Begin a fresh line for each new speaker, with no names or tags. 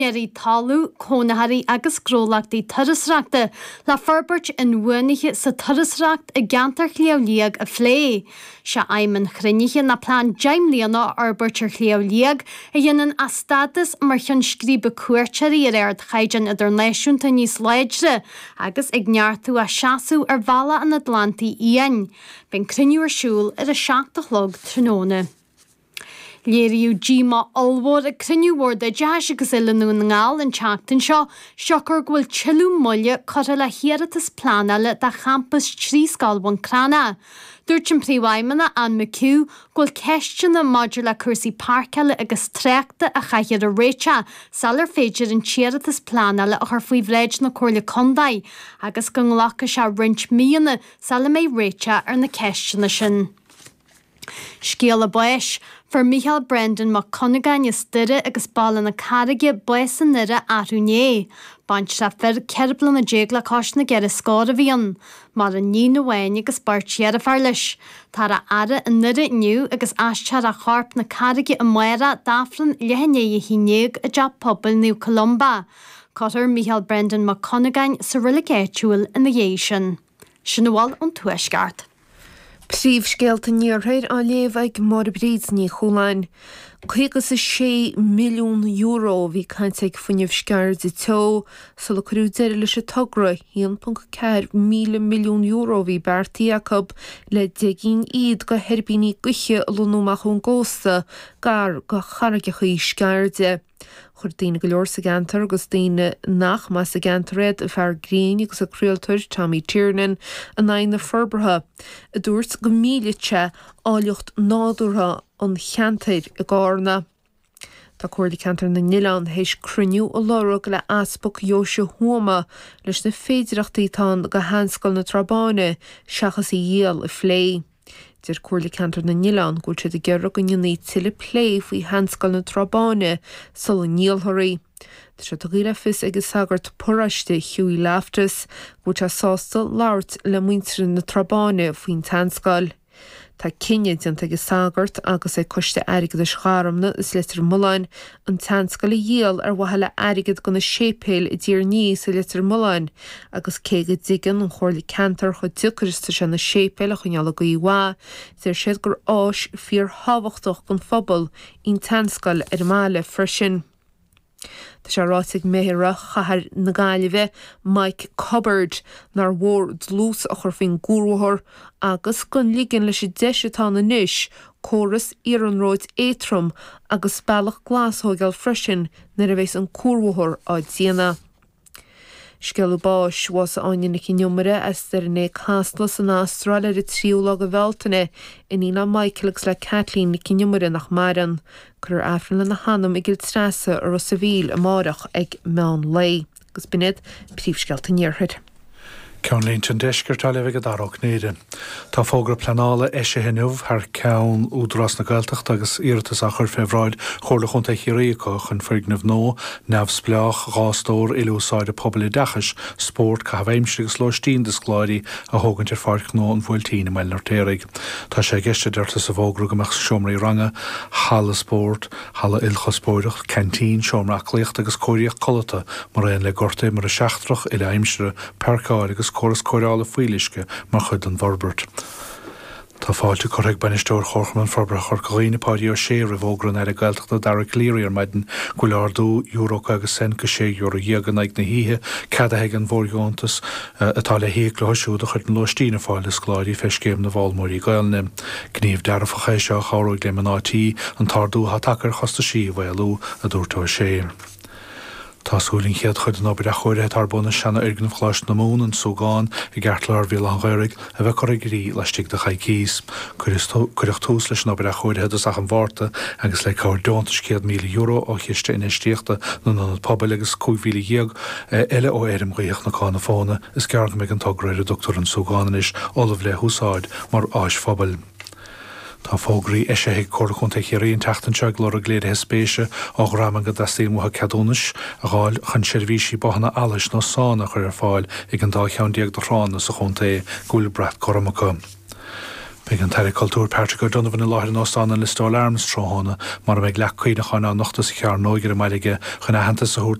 Úinéirí talún, cónaitheoirí agus gnólachtaí turasóireachta le forbairt inbhuanaithe sa turasóireacht i gceantar Shliabh Liag a phlé. Sé aidhm an chruinnithe ná plean 10 mbliana a fhorbairt ar Shliabh Liag a dhéanann a stádas mar cheann scríbe cuairteoirí ar ardchaighdeán idirnáisiúnta níos láidre agus ag neartú a seasamh ar bhealach an Atlantaigh Fhiáin. Beidh an cruinniú ar siúl ar a 7 a chlog tráthnóna. Léiríodh díomá ollmhór ag cruinniú Bhord Oideachais agus Oiliúna Dhún na nGall an tseachtain seo, siocair go bhfuil tuilleadh moille curtha le hiarratas pleanála do champas trí scoil Bhun Cranncha. Dúirt an Príomhfheidhmeannach, Anne McHugh, go bhfuil ceisteanna maidir le cúrsaí páirceála agus tráchta a chaithfear a réiteach sular féidir an t-iarratas pleanála a chur faoi bhráid na Comhairle Contae agus go nglacfaidh sé roinnt míonna sula mbeidh réiteach ar na ceisteanna sin. Scéala báis. Fuair Mícheál Brendan Mac Cuinneagáin as Doire agus Baile na Carraige bás i nDoire arú inné. Baintreach fir 14 bliana le cois na gceithre scór a bhí ann. Maireann níon amháin agus beirt dheirféar leis. Táthar á fhaire i nDoire inniu agus aistreofar a chorp 'na Carraige amárach d'Aifreann leath i ndiaidh a haon dhéag i dTeach Pobail Naomh Columba. Cuirfear Mícheál Brendan Mac Cuinneagáin sa reilig áitiúil ina dhiaidh sin. Sin a bhfuil ón Tuaisceart.
Príomhscéalta an Iarthair á léamh ag Máire Bríd Ní Chualáin. €56 milliún a bhí caite ag Fuinneamh Sceirde Teo sula cuireadh deireadh leis an togra €1.4 míle milliún a bhí beartaithe acu le 10 gcinn fhichead de thuirbíní gaoithe a lonnú amach ón gcósta gar do charraigeachaí Sceirde. Chuir daoine go leor sa gceantar agus daoine nach mb'as an gceantar iad, an fear grinn agus an craoltóir Tommy Tiernan, in aghaidh na forbartha, a dúirt go millfeadh sé áilleacht nádúrtha an cheantair i gCarna. Tá Comhairle Ceantar na nOileán théis cruinniú a lorg le Easpag Dheoise Thuama leis na féidireachtaí atá ann do Sheanscoil na Trá Báine seachas í a dhíol a phlé. Deir Comhairle Ceantar na nOileán go bhfuil siad ag iarraidh go ndéanfaí tuilleadh plé faoi Sheanscoil na Trá Báine sula ndíolfar í. Tá sé tugtha le fios ag an sagart paróiste Hughie Loftus go bhfuil sé sásta labhairt le muintir na Trá Báine faoin tseanscoil. Tá cinneadh déanta ag an sagart agus ag Coiste Airgeadais Gharmna is Leitir Mealláin an tseanscoil a dhíol ar mhaithe le airgead do na séipéil i dTír an Fhia is i Leitir Mealláin agus cé go dtuigeann an Chomhairle Ceantair chomh deacair is atá sé na séipéil a choinneáil i gcaoi mhaith, deir siad gur áis fíorthábhachtach don phobal í an tseanscoil ar an mbaile freisin. Tá sé ráite ag Méara Chathair na Gaillimhe, Mike Cubbard, nár mhór dlús a chur faoin gcuarbhóthar agus gan ligean leis an deis atá ann anois córas iarnróid éadtrom agus bealach glas a thóigeáil freisin nuair a bheas an cuarbhóthar á déanamh. Scéala báis, Bhásaigh Áine Nic an Iomaire as Doire née Casla san Astráil ar an tríú lá de Bhealtaine, iníon le Michael agus le Kathleen Nic an Iomaire nach maireann. Cuirfear Aifreann lena hanam i gCill Treasa i Ros a' Mhíl amáireach ag meán lae. Agus b'in iad príomhscéalta an Iarthair.
Ceannlínte an Deiscirt á léamh ag Dara Ó Cinnéide. Tá fógra pleanála eisithe inniu thar ceann Údarás na Gaeltachta agus iarratas á chur fé bhráid Chomhairle Chontae Chiarraí acu chun foirgneamh nua, neamhspleách, 2 stór, uile-úsáide pobail oideachais, spóirt, caitheamh aimsire agus lóistín do scoláirí a thógaint ar Pháirc Ghnó an Bhuailtín i mBaile an Fheirtéaraigh. Tá sé i gceist, a deirtear sa bhfógra, go mbeadh seomraí ranga, halla spóirt, halla ilchuspóireach, ceaintín, seomra aclaíochta agus cóiríocht codlata, mar aon le gort imeartha seachtrach, uile-aimsire, páirceáil agus córas cóireála fuíolluisce mar chuid den bhforbairt. Tá fáilte curtha ag Bainisteoir Chomharchumann Forbartha Chorca Dhuibhne, Páidí Ó Sé, roimh fhógra an Aire Gaeltachta Dara Calleary ar maidin go bhfuil ardú euro 50 cent go €16 in aghaidh na hoíche ceadaithe aige an bhfóirdheontas atá le híoc leo siúd a chuireann lóistín ar fáil do scoláirí fé Scéim na bhFoghlaimeoirí Gaelainne. Gníomh dearfach é seo a chabhróidh le mná tí an t-ardú atá tagtha ar chostaisí a mhaolú, a dúirt Ó Sé. Tá súil an chéad chuid den obair athchóirithe atá ar bun i seanfhoirgneamh Choláiste na Mumhan, An Súgán, i gceartlár Bhéal Átha an Ghaorthaidh, a bheith curtha i gcrích laistigh de choicíos. Cuireadh tús leis an obair athchóirithe i dtosach an Mhárta agus le cabhair deontais €100,000 ó Chiste Infheistíochta na nIonad Pobail agus 15,000 eile ó Fheirm Ghaoithe Chnocán na Fóna, is gearr go mbeidh an togra ar a dtugtar An Súgán anois ullamh le húsáid mar áis phobail. Tá fógraí eisithe ag Comhairle Contae Chiarraí an tseachtain seo ag lorg léirithe spéise ó dhreamanna go dteastaíonn uathu ceadúnais a dh'fháil chun seirbhísí bothanna allais nó sána a chur ar fáil ag an dá cheann de thránna sa chontae go bhfuil brat gorm acu. Beidh an tAire Cultúir Patrick O'Donovan i láthair in Óstán an Listowel Arms tráthnóna mar a mbeidh leac cuimhneacháin á nochtadh sa chearnóig ar an mbaile aige chun aitheantas a thabhairt.